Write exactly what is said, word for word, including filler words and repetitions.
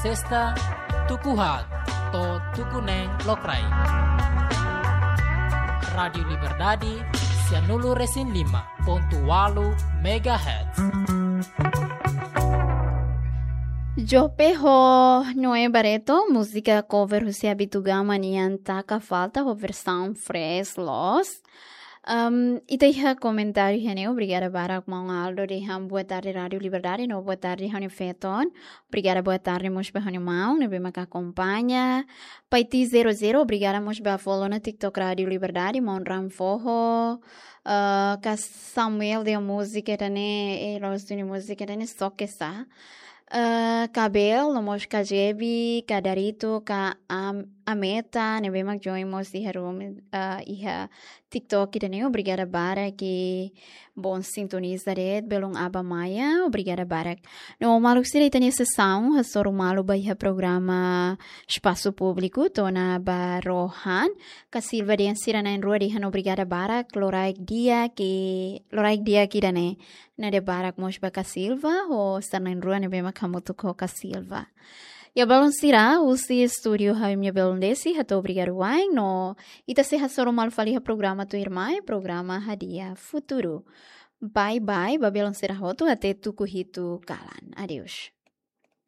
Testa, tuku haat to'o tuku neen lokraik. Rádiu Liberdade, sianulu resin lima megahertz. Jope ho Noé Barreto, múzika cover husi Abitugama nian Taka Falta ho versaun fresh loos. Um, ita iha komentáriu iha ne'e, obrigada barak maun Aldo dehan boa tarde Rádiu Liberdade, no boa tarde ha'u-nia feton. Obrigada, boa tarde mós ba ha'u-nia maun ne'ebé mak akompaña. Paiti zero zero, obrigada mós ba follow ona TikTok Rádiu Liberdade, maun Ram Foho, ah, ka Samuel de múzika ida-ne'e, eh, loos duni múzika ida-ne'e, só que sa. Ah, ka Bel, no mós ka Jebi, ka Darito, ka Am-, Ameta, ne'ebé mak join mós iha room, ah, iha TikTok ida-ne'e, obrigada barak, ke bom sintoniza de'it, belun aban-bainrua, obrigada barak. No maluk sira, ita-nia sesaun hasoru malu ba iha programa Espasu Públiku, to'o ona ba rohan, ka Silva dehan sira na'in-rua dehan obrigada barak, loraik di'ak, loraik di'ak ida-ne'e. Nada barak mós ba ka Silva, ho sira na'in-rua ne'ebé mak hamutuk ho ka Silva. Ya, belun sira, husi estúdiu ha'u-nia belun Desi hato'o obrigadu wa'in no ita sei hasoru malu fali iha programa tuirmai, programa Hadi'a Futuru. Bye bye, ba belun sira hotu, até tuku hitu kalan. Adeus.